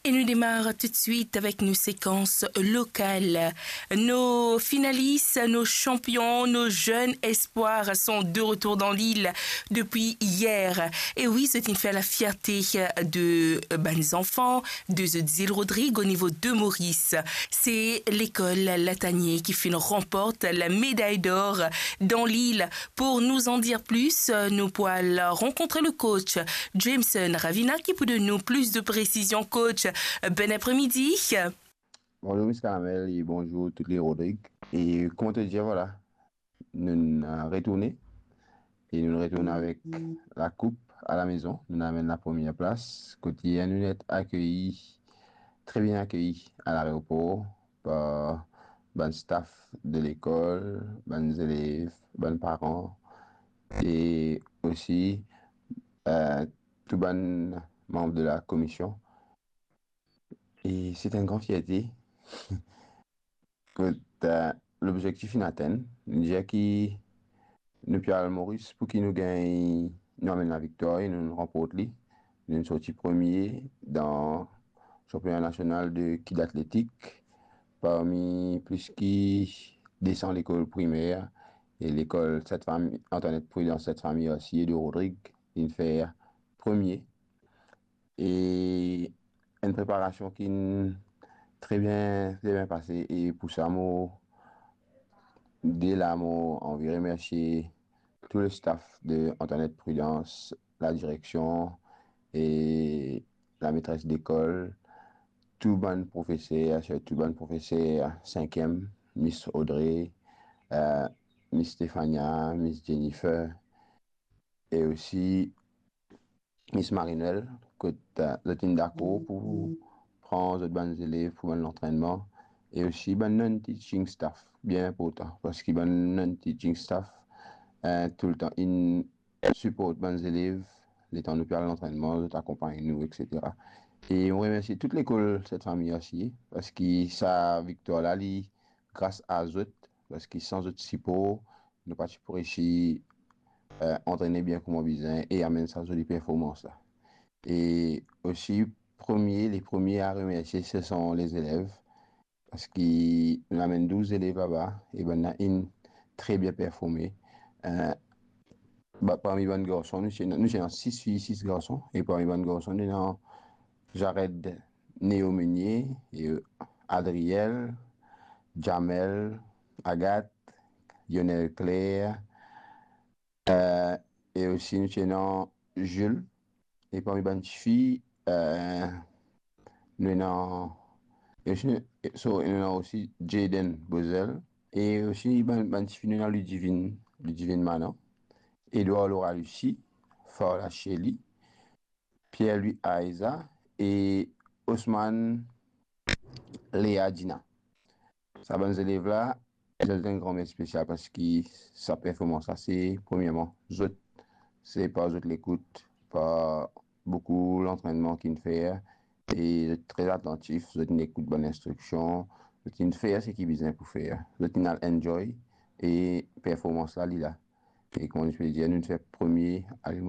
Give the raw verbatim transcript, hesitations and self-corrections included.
E nou demar toutswit avek nou sekans lokal. Nos finalis, nos chanpion, nos zenn espwar sont de retour dans l'île depuis hier. E wi, zot inn fer lafierte de bann zanfan de zot zil Rodrig o nivo de Moris. Se lekol Latanie ki finn ranport la meday dor dan lil. Pour nous en dire plus, nou pou al rankontre le coach Jameson Ravina ki pou donn nou plis de presizion. Coach, bon apremidi. Bonjour Miss Caramel e bonjour tout le Rodrig. E kouma to dir, vwala, nou, euh, retourne. E nou retourn avek la koup a la mezon. Nou amenn la premie plas. Kot nou inn akeyi, tre bien akeyi a laeropor par bann staff de lekol, bann zelev, bann paran e osi, euh, tou bann manb de la komision. E se enn gran fierte. Kot, euh, lobzektif inn atenn, nou dir ki nou pe al Moris pou ki nou gagn, nou amenn laviktwar e nou ranport li. Nou sorti premie dan sanpiona nasional de kid atletik parmi plis ki de san lekol primer e lekol Sent Fami, Antoinette Prudence, Sent Fami osi e de Rodrig, inn fer premie. E enn preparasion ki'nn tre bien, tre bien pase. E pou sa, mo, de la, mo anvi remersie tou le staff de Antoinette Prudence, la direksion e la metres lekol, tou bann profeser, sirtou bann profeser sinkiem, Miss Audrey, euh, Miss Stefania, Miss Jennifer, e osi Miss Marinel, kot, euh, zot inn dakor pou pran zot bann zelev pou bann lantrennman, e osi bann non-teaching staff, bien inportan, parski bann non-teaching staff, euh, toultan inn siport bann zelev, letan nou pe al lantrennman, zot akonpagn nou, et cetera. E mo remersie tou lekol Sent Fami osi, parski sa viktwar la, li gras a zot, parski san zot sipor, nou pa ti pou resi, euh, antrene bien kouma bizin e amenn sa zoli performans la. E osi, premie, le premie a remersie, se son lezelev, parski nou amenn douz zelev laba, e bannla inn tre bien performe. Euh, ba, parmi bann garson, nou ti, nou ti ena sis fi, sis garson, e parmi bann garson, nou ena Jared Neo Meunier, e Adriel, Jamel, Agathe, Lionel Claire, euh, e osi nou ti ena Jules, e parmi bann tifi, euh, nou ena, e osi nou, e, so, nou ena osi Jaden Bozel, e osi bann, bann tifi nou ena Ludivine, Ludivine Manan, Edouard Laura Lucie, Farla Shelly, Pierre-Louis Aiza e Osman Lea Dina. Sa bann zelev la, zot enn gran mersi spesial parski sa performans la, se premierman zot, se par zot lekout, par boukou lantrennman ki'nn fer, e zot tre atantif, zot inn ekout bann instriksion, zot inn fer seki bizin pou fer, zot inn al enjoy, e performans la, li la. E kouma nou pe dir, nou fer premie, ale